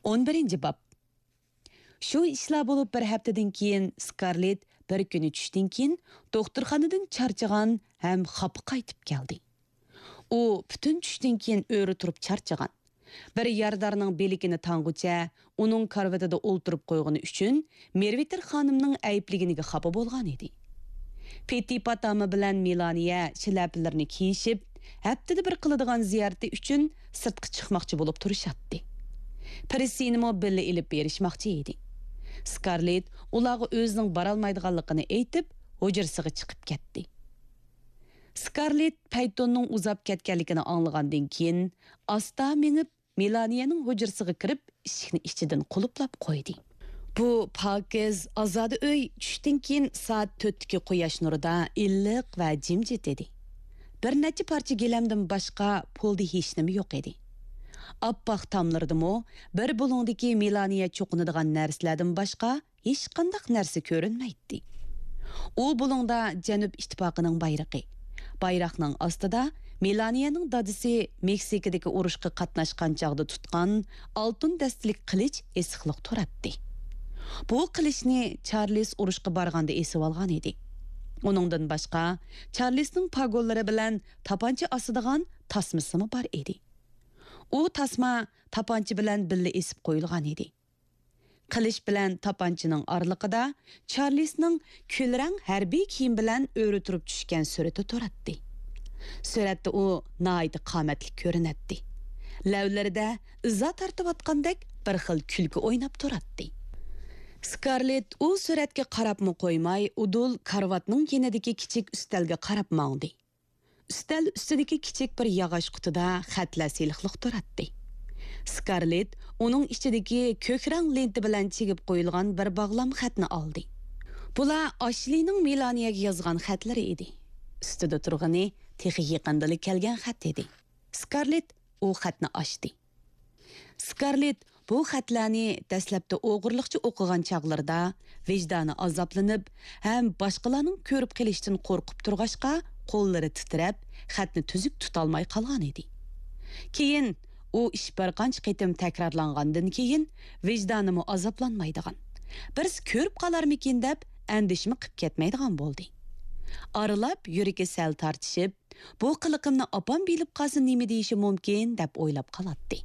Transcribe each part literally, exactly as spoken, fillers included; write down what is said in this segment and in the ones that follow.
ئون بىرىنچى باب. شۇ ئىشلار بولۇپ بىر ھەپتىدىن كېيىن، سكارلېت بىر كۈنى چۈشتىن كېيىن دوختۇرخانىدىن چارچىغان ھەم خاپا قايتىپ كەلدى. ئۇ پۈتۈن چۈشتىن كېيىن ئۆرە تۇرۇپ چارچىغان. بىر يارىدارنىڭ بىلىكىنى تاڭغۇچە ئۇنىڭ كارىۋىتىدا ئولتۇرۇپ قويغىنى ئۈچۈن مېرۋىتېر خانىمنىڭ ئەيىبلىگىنىگە خاپا بولغان ئىدى. پېتى پاتاما بىلەن مېلانىيە شىلەپىلىرىنى كىيىشىپ، ھەپتىدە بىر قىلىدىغان زىيارىتى ئۈچۈن سىرتقا چىقماقچى بولۇپ تۇرۇشاتتى. پىرسىنىمۇ بىللە ئېلىپ بېرىشماقچى ئىدى. سكارلېت ئۇلارغا ئۆزىنىڭ بارالمايدىغانلىقىنى ئېيتىپ، ھۇجرىسىغا چىقىپ كەتتى. سكارلېت پەيتوننىڭ ئۇزاپ كەتكەنلىكىنى ئاڭلىغاندىن كېيىن، ئاستا مېڭىپ، مېلانىيەنىڭ ھۇجرىسىغا كىرىپ، ئىشىكنى ئىچىدىن قۇلۇپلاپ قويدى. بۇ پاكىز، ئازادە ئۆي چۈشتىن كېيىن سائەت تۆتتىكى قۇياش نۇرىدا ئىللىق ۋە جىمجىت ئىدى. بىر نەچچە پارچە گىلەمدىن باشقا پولدا ھېچنېمە يوق ئىدى. ئاپئاق تاملىرىدىمۇ بىر بۇلۇڭدىكى مېلانىيە چوقۇنىدىغان نەرسىلەردىن باشقا ھېچقانداق نەرسە كۆرۈنمەيتتى. ئۇ بۇلۇڭدا جەنۇب ئىتتىپاقىنىڭ بايرىقى، بايراقنىڭ ئاستىدا مېلانىيەنىڭ دادىسى مېكسىكىدىكى ئۇرۇشقا قاتناشقان چاغدا تۇتقان ئالتۇن دەستىلىك قىلىچ ئېسىقلىق تۇراتتى. بۇ قىلىچنى چارلىز ئۇرۇشقا بارغاندا ئېسىۋالغان ئىدى. ئۇنىڭدىن باشقا، چارلىزنىڭ پاگونلىرى بىلەن تاپانچا ئاسىدىغان تاسمىسىمۇ بار ئىدى. ئۇ تاسما تاپانچا بىلەن بىللە ئېسىپ قويۇلغان ئىدى. قىلىچ بىلەن تاپانچىنىڭ ئارىلىقىدا چارلىزنىڭ كۈلرەڭ ھەربىي كىيىم بىلەن ئۆرە تۇرۇپ چۈشكەن سۈرىتى تۇراتتى. سۈرەتتە ئۇ ناھايىتى قامەتلىك كۆرۈنەتتى. لەۋلىرىدە ئىزا تارتىۋاتقاندەك بىر خىل كۈلكە ئويناپ تۇراتتى. سكارلېت ئۇ سۈرەتكە قاراپمۇ قويماي، ئۇدۇل كارىۋاتنىڭ يېنىدىكى كىچىك ئۈستەلگە قاراپ ماڭدى. ئۈستەل ئۈستىدىكى كىچىك بىر ياغاچ قۇتىدا خەتلەر سېلىقلىق تۇراتتى. سكارلېت ئۇنىڭ ئىچىدىكى كۆك رەڭ لېنتا بىلەن چىگىپ قويۇلغان بىر باغلام خەتنى ئالدى. بۇلار ئاشلىنىڭ مېلانىيەگە يازغان خەتلىرى ئىدى. ئۈستىدە تۇرغىنى تېخى يېقىندىلا كەلگەن خەت ئىدى. سكارلېت ئۇ خەتنى ئاچتى. سكارلېت بۇ خەتلەرنى دەسلەپتە ئوغرىلىقچە ئوقۇغان چاغلىرىدا ۋىجدانى ئازابلىنىپ ھەم باشقىلارنىڭ كۆرۈپ قېلىشتىن قورقۇپ تۇرغاچقا، قوللىرى تىترەپ، خەتنى تۈزۈك تۇتالماي قالغان ئىدى. كېيىن ئۇ ئىش بىر قانچە قېتىم تەكرارلانغاندىن كېيىن، ۋىجدانىمۇ ئازابلانمايدىغان، بىرسى كۆرۈپ قالارمىكىن دەپ ئەندىشىمۇ قىپ كەتمەيدىغان بولدى. ئارىلاپ يۈرىكى سەل تارتىشىپ، بۇ قىلىقىمنى ئاپام بىلىپ قالسا نېمە دېيىشى مۇمكىن دەپ ئويلاپ قالاتتى.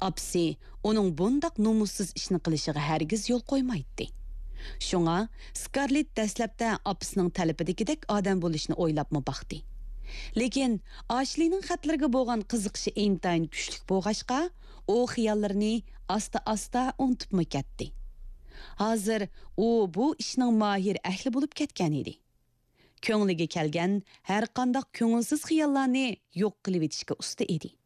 ئاپىسى ئۇنىڭ بۇنداق نومۇسسىز ئىشنى قىلىشىغا ھەرگىز يول قويمايتتى. شۇڭا سكارلېت دەسلەپتە ئاپىسىنىڭ تەلىپىدىكىدەك ئادەم بولۇشنى ئويلاپمۇ باقتى. لېكىن ئاشلىنىڭ خەتلىرىگە بولغان قىزىقىشى ئىنتايىن كۈچلۈك بولغاچقا، ئۇ خىياللىرىنى ئاستا-ئاستا ئۇنتۇپمۇ كەتتى. ھازىر ئۇ بۇ ئىشنىڭ ماھىر ئەھلى بولۇپ كەتكەن ئىدى. كۆڭلىگە كەلگەن ھەرقانداق كۆڭۈلسىز خىياللارنى يوق قىلىۋېتىشكە ئۇستا ئىدى.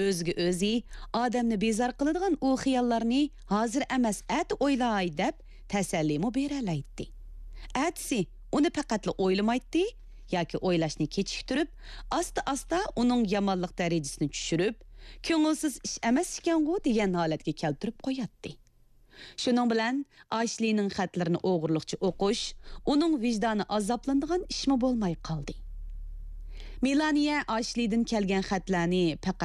ئۆزىگە ئۆزى ئادەمنى بىزار قىلىدىغان ئۇ خىياللارنى ھازىر ئەمەس، ئەتە ئويلاي دەپ تەسەللىمۇ بېرەلەيتتى. ئەتىسى ئۇنى پەقەتلا ئويلىمايتتى ياكى ئويلاشنى كېچىكتۈرۈپ، ئاستا-ئاستا ئۇنىڭ يامانلىق دەرىجىسىنى چۈشۈرۈپ، كۆڭۈلسىز ئىش ئەمەس ئىكەنغۇ دېگەن ھالەتكە كەلتۈرۈپ قوياتتى. شۇنىڭ بىلەن ئاشلىنىڭ خەتلىرىنى ئوغرىلىقچە ئوقۇش ئۇنىڭ ۋىجدانى ئازابلىنىدىغان ئىشمۇ بولماي قالدى. مېلانىيە ئاشلىدىن كەلگەن خەتلەرنى پەقەت